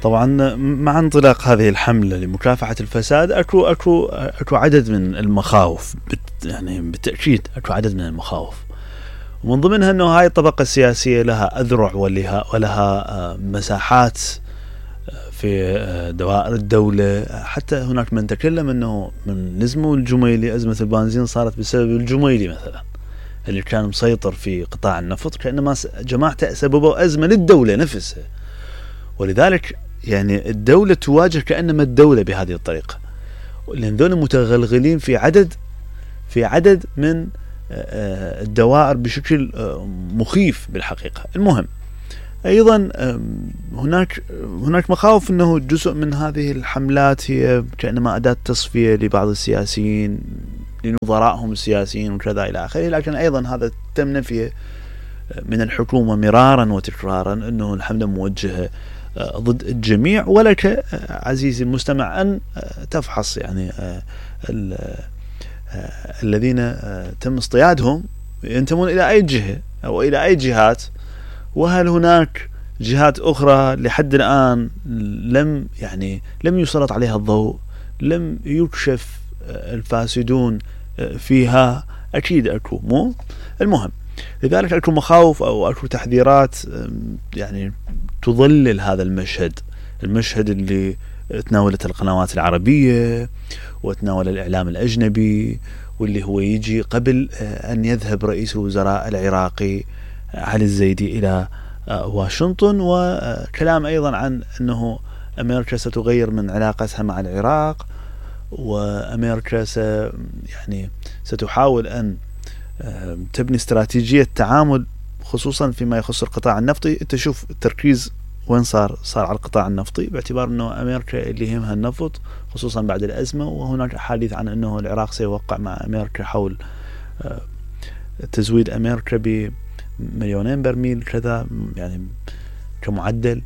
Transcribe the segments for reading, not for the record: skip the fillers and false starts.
طبعا مع انطلاق هذه الحملة لمكافحة الفساد اكو عدد من المخاوف، يعني بالتأكيد اكو عدد من المخاوف، ومن ضمنها انه هاي الطبقة السياسية لها اذرع ولها مساحات في دوائر الدولة. حتى هناك من تكلم انه من نزموا الجميلي ازمة البنزين صارت بسبب الجميلي مثلا اللي كان مسيطر في قطاع النفط، كأنما جماعته سببوا ازمة للدولة نفسها. ولذلك يعني الدولة تواجه كأنما الدولة بهذه الطريقة، لأن ذول متغلغلين في عدد من الدوائر بشكل مخيف بالحقيقة. المهم أيضا هناك مخاوف أنه جزء من هذه الحملات هي كأنما أداة تصفية لبعض السياسيين لنظرائهم السياسيين وكذا إلى آخره، لكن أيضا هذا تم نفيه من الحكومة مرارا وتكرارا أنه الحملة موجهة ضد الجميع، ولك عزيزي المستمع أن تفحص يعني الذين تم اصطيادهم ينتمون إلى أي جهة أو إلى أي جهات، وهل هناك جهات أخرى لحد الآن لم يسلط عليها الضوء، لم يكشف الفاسدون فيها. أكيد أكو، مو المهم. لذلك أكو مخاوف أو أكو تحذيرات يعني تظلل هذا المشهد اللي تناولت القنوات العربية وتناول الإعلام الأجنبي، واللي هو يجي قبل أن يذهب رئيس الوزراء العراقي علي الزيدي إلى واشنطن، وكلام أيضا عن أنه أمريكا ستغير من علاقتها مع العراق، وأمريكا ستحاول أن تبني استراتيجية تعامل خصوصا فيما يخص القطاع النفطي. تشوف التركيز وين صار على القطاع النفطي، باعتبار أنه أمريكا اللي يهمها النفط خصوصا بعد الأزمة، وهناك حديث عن أنه العراق سيوقع مع أمريكا حول تزويد أمريكا ب2,000,000 برميل كذا يعني كمعدل،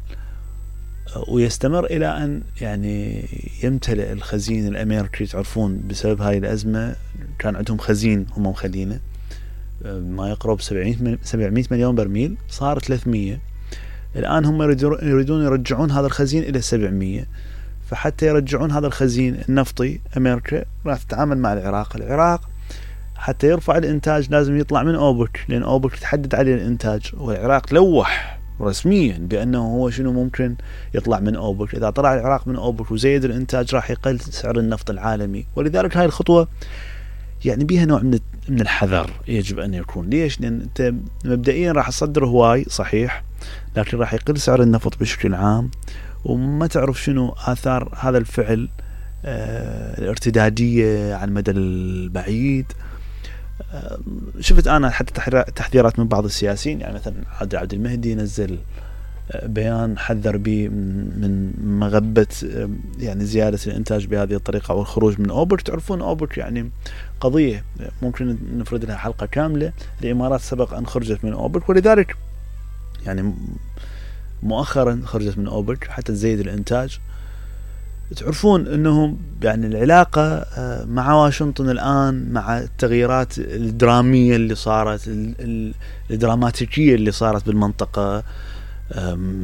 ويستمر إلى أن يعني يمتلئ الخزين الأمريكي. تعرفون بسبب هاي الأزمة كان عندهم خزين هم مخلينه ما يقرب 700 مليون برميل، صار 300. الآن هم يريدون يرجعون هذا الخزين إلى 700. فحتى يرجعون هذا الخزين النفطي أمريكا راح تتعامل مع العراق حتى يرفع الإنتاج لازم يطلع من أوبك، لأن أوبك تحدد عليه الإنتاج، والعراق لوح رسميا بأنه هو شنو ممكن يطلع من أوبك. إذا طلع العراق من أوبك وزيد الإنتاج راح يقل سعر النفط العالمي. ولذلك هاي الخطوة يعني بيها نوع من الحذر يجب أن يكون. ليش؟ لأن أنت مبدئيا راح تصدر هواي صحيح، لكن راح يقل سعر النفط بشكل عام، وما تعرف شنو آثار هذا الفعل الارتدادية على المدى البعيد. شفت أنا حتى تحذيرات من بعض السياسيين، يعني مثلا عبد المهدي نزل بيان حذر به من مغبة يعني زيادة الإنتاج بهذه الطريقة أو الخروج من أوبك. تعرفون أوبك يعني قضية ممكن نفرد لها حلقة كاملة. الإمارات سبق أن خرجت من أوبك، ولذلك يعني مؤخرا خرجت من أوبك حتى تزيد الإنتاج. تعرفون أنه يعني العلاقة مع واشنطن الآن مع التغييرات الدرامية اللي صارت، الدراماتيكية اللي صارت بالمنطقة،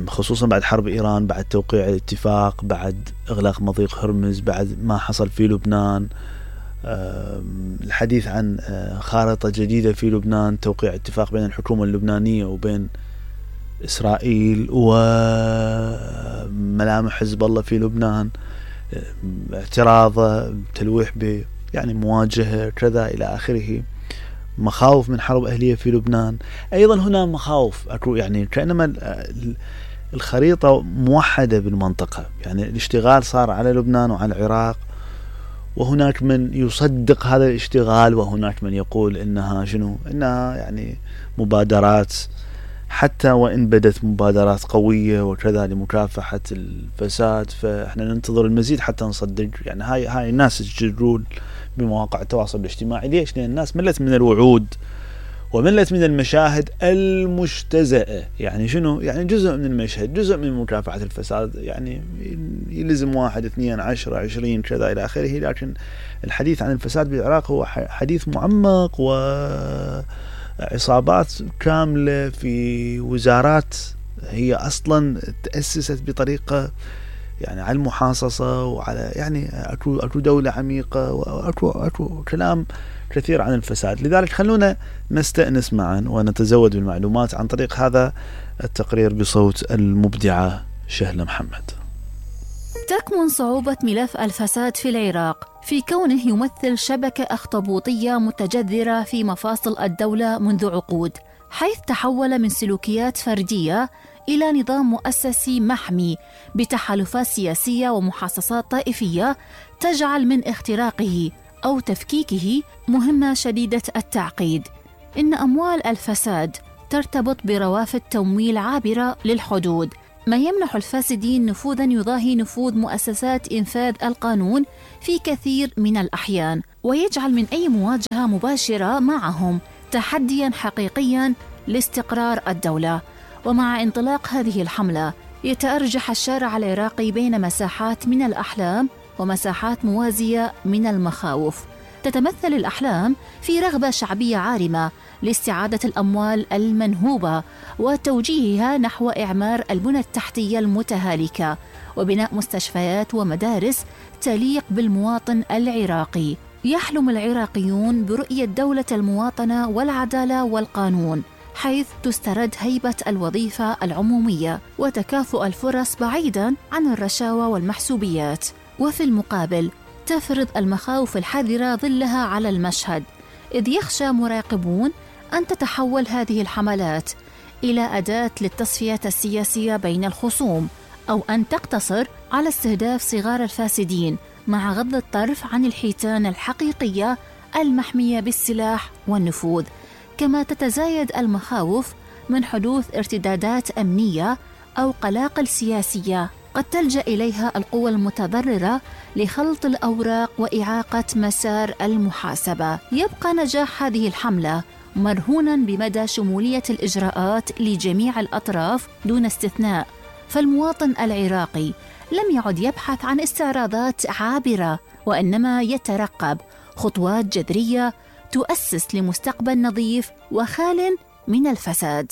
خصوصا بعد حرب إيران، بعد توقيع الاتفاق، بعد إغلاق مضيق هرمز، بعد ما حصل في لبنان، الحديث عن خارطة جديدة في لبنان، توقيع اتفاق بين الحكومة اللبنانية وبين إسرائيل، وملامح حزب الله في لبنان، اعتراضه، تلويح يعني مواجهة كذا إلى آخره، مخاوف من حرب أهلية في لبنان. أيضا هنا مخاوف أكو يعني كأنما الخريطة موحدة بالمنطقة، يعني الاشتغال صار على لبنان وعلى العراق، وهناك من يصدق هذا الاشتغال، وهناك من يقول إنها يعني مبادرات، حتى وإن بدت مبادرات قوية وكذا لمكافحة الفساد، فإحنا ننتظر المزيد حتى نصدق. يعني هاي الناس تجرون بمواقع التواصل الاجتماعي. ليش؟ لأن الناس ملت من الوعود وملت من المشاهد المجتزأة. يعني شنو؟ يعني جزء من المشهد، جزء من مكافحة الفساد، يعني يلزم 1 2 10 20 كذا إلى آخره. لكن الحديث عن الفساد بالعراق هو حديث معمق، وعصابات كاملة في وزارات هي أصلا تأسست بطريقة يعني على المحاصصة وعلى يعني أكو دولة عميقة وأكو كلام كثير عن الفساد. لذلك خلونا نستأنس معا ونتزود بالمعلومات عن طريق هذا التقرير بصوت المبدعة شهلة محمد. تكمن صعوبة ملف الفساد في العراق في كونه يمثل شبكة أخطبوطية متجذرة في مفاصل الدولة منذ عقود، حيث تحول من سلوكيات فردية إلى نظام مؤسسي محمي بتحالفات سياسية ومحاصصات طائفية تجعل من اختراقه أو تفكيكه مهمة شديدة التعقيد. إن أموال الفساد ترتبط بروافد تمويل عابرة للحدود، ما يمنح الفاسدين نفوذاً يضاهي نفوذ مؤسسات إنفاذ القانون في كثير من الأحيان، ويجعل من أي مواجهة مباشرة معهم تحدياً حقيقياً لاستقرار الدولة. ومع انطلاق هذه الحملة يتأرجح الشارع العراقي بين مساحات من الأحلام ومساحات موازية من المخاوف. تتمثل الأحلام في رغبة شعبية عارمة لاستعادة الأموال المنهوبة وتوجيهها نحو إعمار البنى التحتية المتهالكة وبناء مستشفيات ومدارس تليق بالمواطن العراقي. يحلم العراقيون برؤية دولة المواطنة والعدالة والقانون، حيث تسترد هيبة الوظيفة العمومية وتكافؤ الفرص بعيداً عن الرشاوى والمحسوبيات. وفي المقابل تفرض المخاوف الحذرة ظلها على المشهد، إذ يخشى مراقبون أن تتحول هذه الحملات إلى أداة للتصفية السياسية بين الخصوم، أو أن تقتصر على استهداف صغار الفاسدين مع غض الطرف عن الحيتان الحقيقية المحمية بالسلاح والنفوذ. كما تتزايد المخاوف من حدوث ارتدادات أمنية أو قلاقل سياسية قد تلجأ إليها القوى المتضررة لخلط الأوراق وإعاقة مسار المحاسبة. يبقى نجاح هذه الحملة مرهونا بمدى شمولية الإجراءات لجميع الأطراف دون استثناء، فالمواطن العراقي لم يعد يبحث عن استعراضات عابرة، وإنما يترقب خطوات جذرية تؤسس لمستقبل نظيف وخال من الفساد.